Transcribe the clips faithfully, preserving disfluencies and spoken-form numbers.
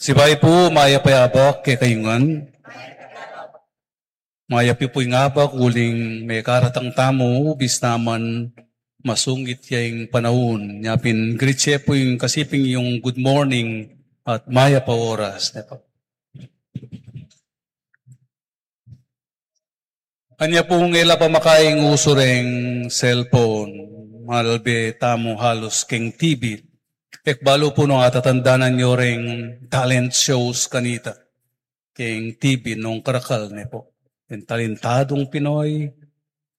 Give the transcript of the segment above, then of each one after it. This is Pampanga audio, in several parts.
Sibayu pu, mayap a abak kekayu ngan. Mayap yu pu ing abak uling mekaratang tamu, bista man masungit ya ing panaun. Nya pin greet ye pu ing kasiping yung good morning at mayap a oras, ne pu. Anya pung e la pamakaing usu reng cellphone, malbe tamu halus keng T V. E ku balu pu nung atatandanan yu reng talent shows kanita keng T V nung karakal, ne pu. Ing Talentadong Pinoy,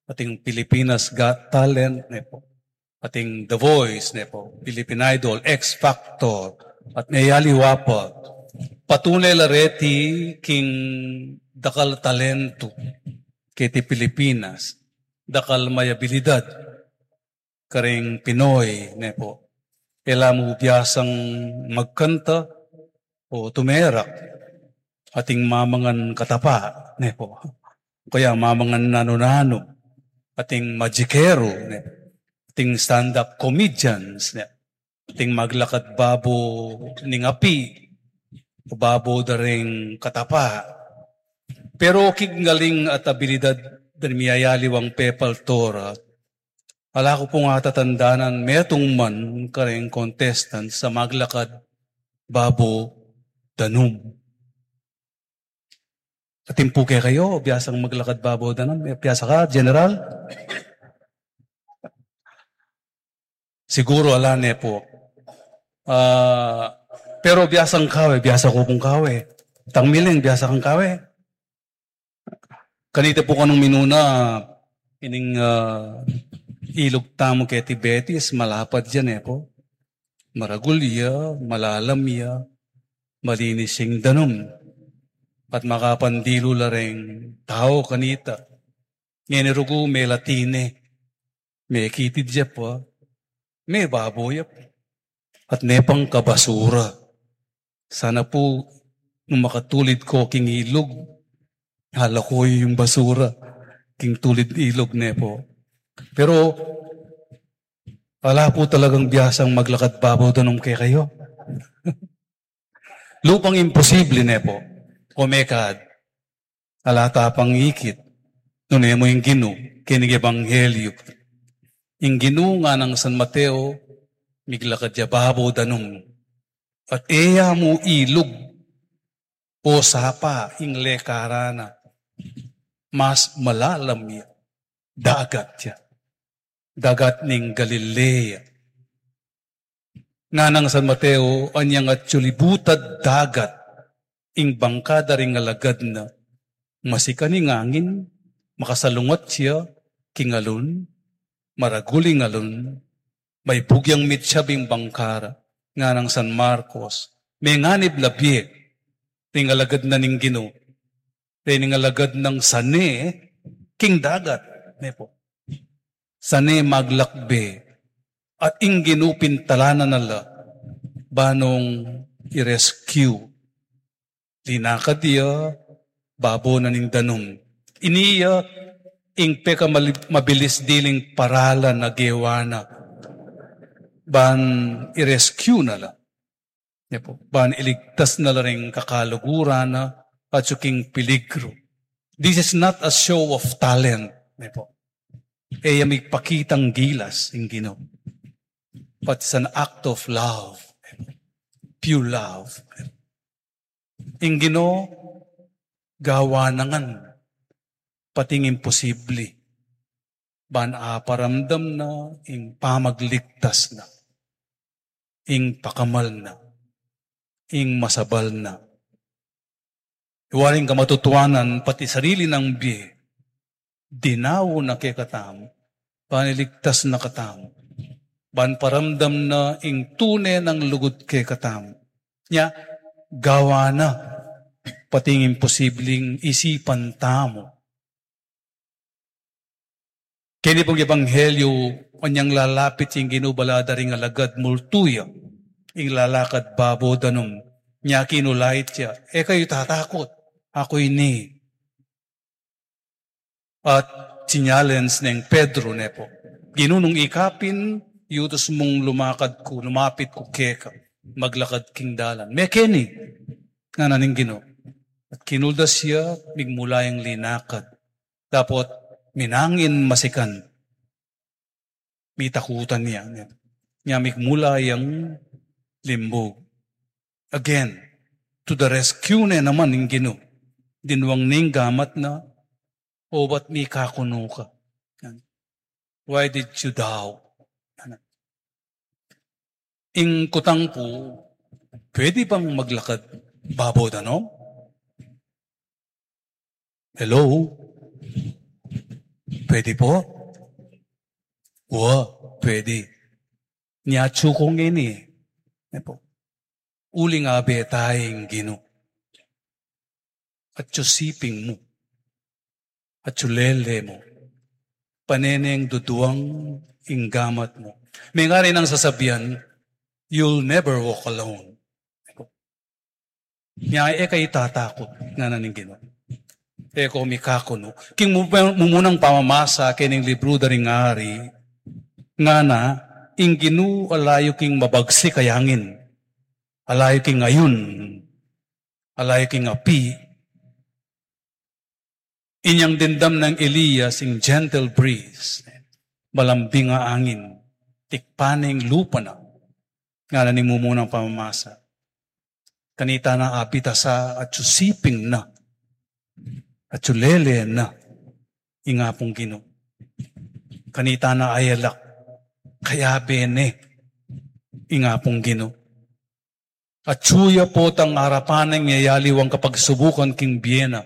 ating Pilipinas Got Talent, ne pu. Ating The Voice, ne pu, Philippine Idol, X Factor, at meyaliwa pa. Patune la reti king dakal talentu keti Pilipinas, dakal mayabilidad kareng Pinoy, ne pu. E la mu biasang magkanta o tumerak, ating mamangan katapa, ne pu. O kaya mamangan nanu-nanu, ating majikero, ne pu. Ating stand-up comedians, ne pu. Ating maglakad babo ning api, o babo da ring katapa. Pero king galing at abilidad da ring miyayaliwang pepaltora, ala ku pung atatandanan metung man kareng contestant sa maglakad babo danum. Atin pu kekayu, biasang maglakad babo danum? Biasa ka, General? Siguru ala, ne pu. Ah, pero biasang kawe, biasa ku pung kawe. Tang Miling, biasa kang kawe? Kanita pu kanung minuna, ining, ah, ilug tamu keti Betis, malapad ya, ne pu. Maragul ya, malalam ya, malinis ing danum. At makapandilu la reng tau kanita. Ngeni rugu, melatine, mekitid ya pa, mebabo ya pa. At ne pang kabasura. Sana pu, nung makatulid ko king ilug, ala ku ing basura king tulid ilug, ne pu. Pero ala pu talagang biasang maglakad babo danum kekayu. Lupang imposible, ne pu. O mekad, ala ta pang ikit, nune mu ing Ginu keni king Ebanghelyu. Ing Ginu nganang San Mateo, miglakad ya babo danum. At e ya mu ilug o sapa ing lekaran na, mas malalam ya, dagat ya. Dagat ning Galilea. Nganang San Mateo, anyang atyu libutad dagat ing bangka da ring alagad na, masikan ing angin, makasalungat ya king alun, maragul ing alun, maibug yang mitsyab ing bangka ra. Nganang San Marcos, menganib la bie ring alagad na ning Ginu, reng alagad nang sane king dagat, ne pu. Sane maglakbe, at ing Ginu pintalanan na la, ba nung i-rescue. Linakad ya babo na ning danum. Ini ya ing peka mali-, mabilis diling paralan a gewa na, ban i-rescue na la. Ne pu, ban iligtas na la ring kakaluguran na, atyu king peligru. This is not a show of talent, ne pu. E ya mipakitang gilas ing Ginu. But it's an act of love. Pure love. Ing Ginu, gawa na ngan pati ing imposible. Ban aparamdam na ing pamagligtas na, ing pakamal na, ing masabal na. Iwa ring kamatutuanan, pati sarili nang bie, dinawu na kekatamu, ban iligtas na katamu, ban paramdam na ing tune nang lugud kekatamu. Nya, gawa na pati ing imposibleng isipan tamu. Keni pung ebanghelyo, anyang lalapit ing Ginu, bala da ring alagad, multu ya ing lalakad babo danum. Nya kinulait ya, "E kayu tatakut, aku ini." At challenge neng Pedro, ne pu, "Ginu, nung ika pin, yutus mung lumakad ku, lumapit ku keka, maglakad king dalan." Mekeni, ngana ning Ginu. At kinuldas ya, migmula yang linakad. Dapot minangin masikan. Mitakutan ya. Nya migmula yang limbug. Again, to the rescue ne naman ning Ginu. Dinwang ning gamat na, "O ba't mikakunu ka? Why did you doubt?" Ing kutang pu, pwede bang maglakad babo danum? Hello? Pwede po? Wa, pwede. Nya atsu ku ngeni. Ne po. Uling abe taya ing Ginu. Atsu siping mu. Atsu lele mu. Pane neng duduang ing gamat mu. Mengari nang sasabian, "You'll never walk alone." Nya e ka itatakut, ngana ning Ginu. E ko mikakunu. King mu-, mumunang pamamasa kening libru da ring ari, ngana, ing Ginu ala yu king mabagsik a angin, ala yu king ayun, ala yu king api. Inyang dimdam nang Elias ing gentle breeze, malambing a angin, tikpan ne ing lupa na, ngana ning mumunang pamamasa. Kanita na abitasa atsu siping na, atsu lele na ing Apung Ginu. Kanita na ayalak, kayabe ne ing Apung Ginu. Atsu ya potang arapan neng miyayaliwang kapagsubukan king bie na.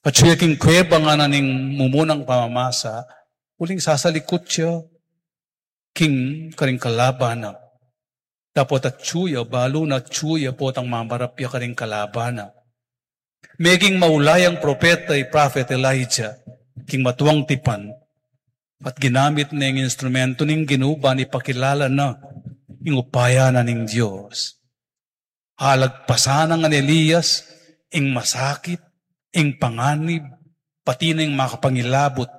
Atsu ya king kuweba, ngana ning mumunang pamamasa, uling sasalikut ya king karing kalaban na. Dapot atsu ya, balu na atsu ya potang mamarap ya karing kalaban na. Meging maula yang propeta i Prophet Elijah king matuang tipan, at ginamit ne ing instrumento ning Ginu ban ipakilala na ing upaya na ning Dios. Alagpasan na ngan Elias ing masakit, ing panganib, pati na ing makapangilabut,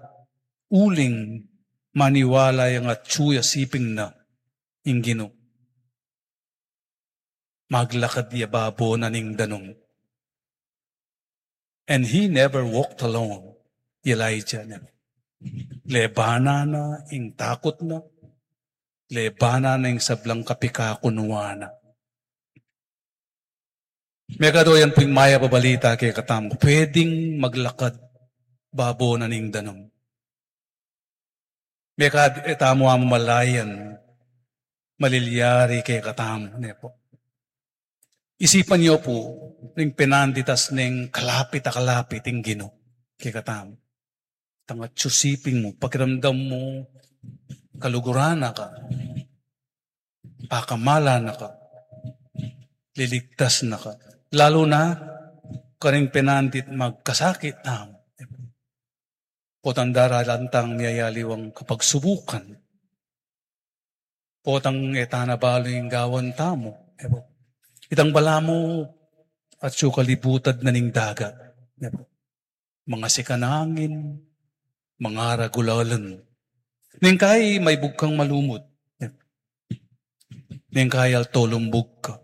uling maniwala yang atsu ya siping na ing Ginu. Maglakad ya babo na ning danum. And he never walked alone, Elijah. Lebanan na ing takut na, lebanan na ing sablang kapikakunuan na. Mekad o yan pu ing mayap a balita kekatamu, pwedeng maglakad babo na ning danum. Mekad e tamu amalayan malilyari kekatamu, ne pu. Isipan yu pu, ring penanditas neng kalapit a kalapit ing Ginu kekatamu. Tang atsu siping mu, pakiramdam mu, kaluguran na ka, pakamalan na ka, liligtas na ka. Lalu na karing penandit magkasakit tamu. Potang daralan tang miyayaliwang kapagsubukan. Potang e ta na balu ing gawan tamu. Itang balamu atsu kalibutad na ning dagat. Mangasikan angin, mangaragul a alan. Neng kai maibug kang malumut. Neng kai alto lumbug ka.